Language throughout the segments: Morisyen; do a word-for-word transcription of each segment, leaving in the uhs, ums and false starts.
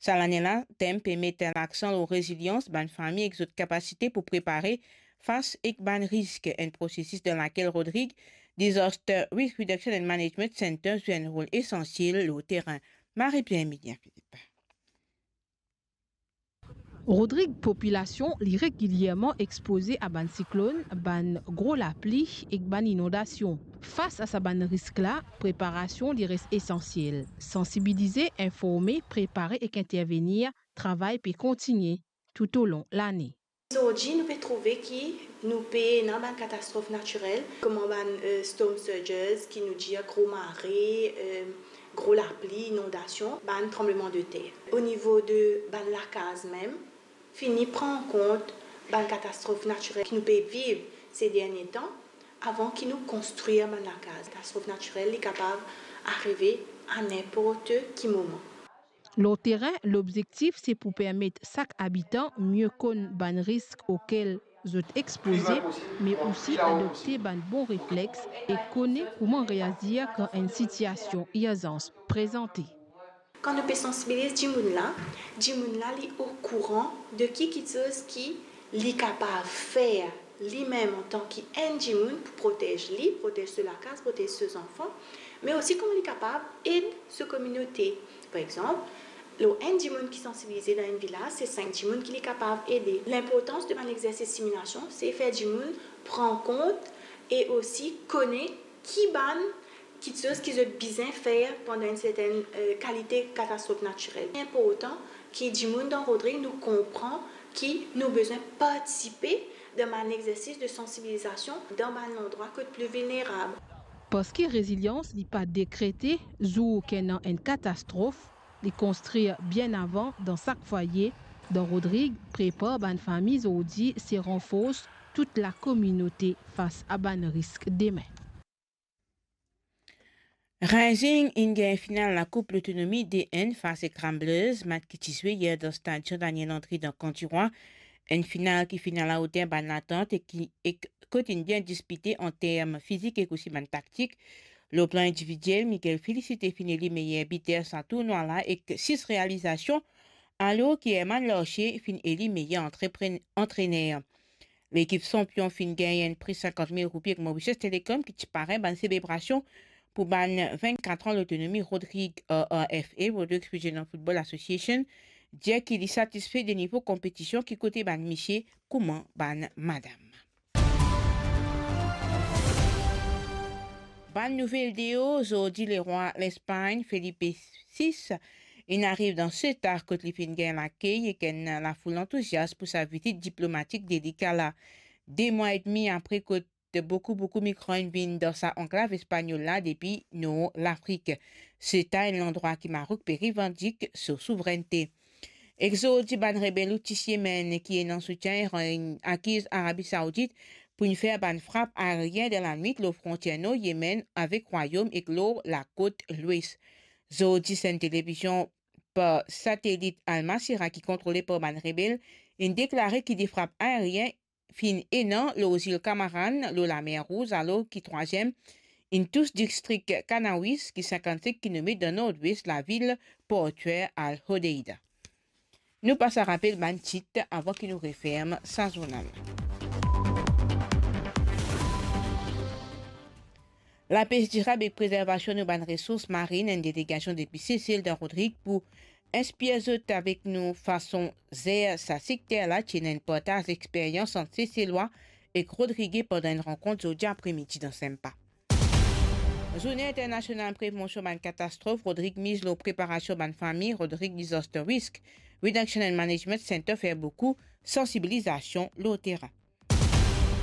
Sa lane la, tem pe met laksan lor rezilians bann fami ek zot kapasite pou prepare fas ek bann risk, enn prosesis dan lakel Rodrig Disaster Risk Reduction and Management Center zwe enn rol esansiel lor terin. Marie-Pierre Emilien Philippe. Rodrig popilasion li regilierman expoze a bann siklonn, bann gro lapli ek bann inondasion. Fas a sa bann risk la, preparasion li res esansiel. Sansibilize, informe, prepare ek intervenir, travay pe kontigne toutolon lane. Zordi nou pe trouve ki nou pe ena bann katastrof natirel, kouma bann, eh, storm surges ki nou dir gro mare, eh, gro lapli, inondasion, bann tranbleman de ter. O nivo de bann lakaz mem, fini pran an kont bann katastrof natirel ki nou pe viv se dernie tan, avan ki nou konstrir bann lakaz. Katastrof natirel, li kapav arive a ninport ki moman. Lor terin, lobzektif se pou permet sak abitan mie konn bann risk okel zot expoze, me osi adopte bann bon reflex e kone kouma reazir kan enn sitiasion irzans prezante. Kan nou pe sansibiliz dimoun la, dimoun la li okouran de ki kiksoz ki li kapav fer limem antan ki enn dimoun pou protez li, protez so lakaz, protez so zanfan, me osi kouma li kapav ed so kominote. Par exanp, lor enn dimoun ki sansibilize dan enn vilaz, se sink dimoun ki li kapav ede. Linportans de bann exersis similasion, se fer dimoun pran kont e osi kone ki bann kiksoz ki zot bizin fer pandan enn sertenn, eh, kalite katastrof natirel. Inportan ki dimoun dan Rodrig nou konpran ki nou bizin partisipe dan bann exersis de sansibilizasion dan bann landrwa kot pli vilnerab. Parski rezilians li pa dekrete zour ki ena enn katastrof, li konstrir bien avan dan sak fwaye. Dan Rodrig, prepar bann fami zordi se ranfors tout lakominote fas a bann risk demin. Racing inn gagn final Lakoup Lotonomi de enn fas ek Ramblers, match ki ti zwe yer dan stad Jean Daniel Landry dan Kan Tirwa. Enn final ki finn alaoter bann latant e ki, e kot inn bien dispite an term fizik ek osi bann taktik. Lor plan individiel, Miguel Felicite finn eli meyer biter sa tournwa la ek sis realizasion, alor ki Herman Larcher finn eli meyer antreprenn-, antrener. Lekip sanpion finn gagn enn pri sinkant mil roupi ek Mauritius Telecom ki ti pare bann selebrasion pou bann vennkat an lotonomi Rodrig, R R F A, Rodrigues Regional Football Association, dir ki li satisfe de nivo konpetision ki kote bann misie kouma bann madam. Bann nouvel deor, zordi lerwa Lespagn, Felipe sis, inn ariv dan Ceuta, kot li finn gagn lakey ek enn lafoul antouzias pou sa vizit diplomatik delika la. De mwa edmi apre kot boukou, boukou migran inn vinn dan sa anklav espagnol la depi nor Lafrik. Ceuta enn landrwa ki Maroc pe revandik so souvrennte. Ek zordi, bann rebel Houthis Yemen ki ena soutien Iran inn akiz Arabi Saoudit pou inn fer bann frap aerien dan lanwit lor frontier nor Yemen avek Rwayom ek lor lakot lwes. Zordi, sa enn televizion par satelit Al Masirah ki kontrole par bann rebel inn deklare ki de frap aerien finn ena lor zil Kamaran, lor Lamer Rouz, alor ki trwaziem inn tous distrik Kanawis, ki sinkant-sink kilomet dan nordwes lavil portyer Al Hodeida. Nou pas a rapel bann tit avan ki nou referm sa zournal. Lapes dirab ek prezervasion nou bann resours marin, enn delegasion depi Sesel dan Rodrig pou inspir zot avek nou fason zer sa sekter la, ti ena enn partaz experyans ant Seselwa ek Rodrige pandan enn rankont zordi apremidi dan Sempa. Zourne Internasional Prevansion bann Katastrof, Rodrig miz lor preparasion bann fami, Rodrig Disaster Risk Reduction and Management Center fer boukou sansibilizasion lor terin.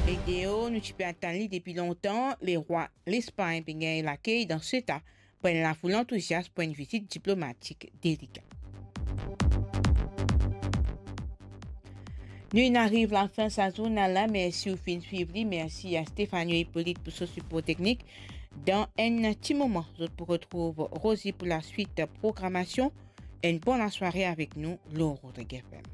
Ek deor, nou ti pe atann li depi lontan, lerwa Lespagn pe gagn lakey dan Ceuta par enn lafoul antouzias pou enn vizit diplomatik delika. Nou inn ariv lafin sa zournal la, mersi ou finn swiv li, mersi a Stefano Hippolyte pou so sipor teknik. Dan enn ti moman, zot pou retrouv Rosie pou laswit programasion. Enn bon lasware avek nou lor Rodrig F M.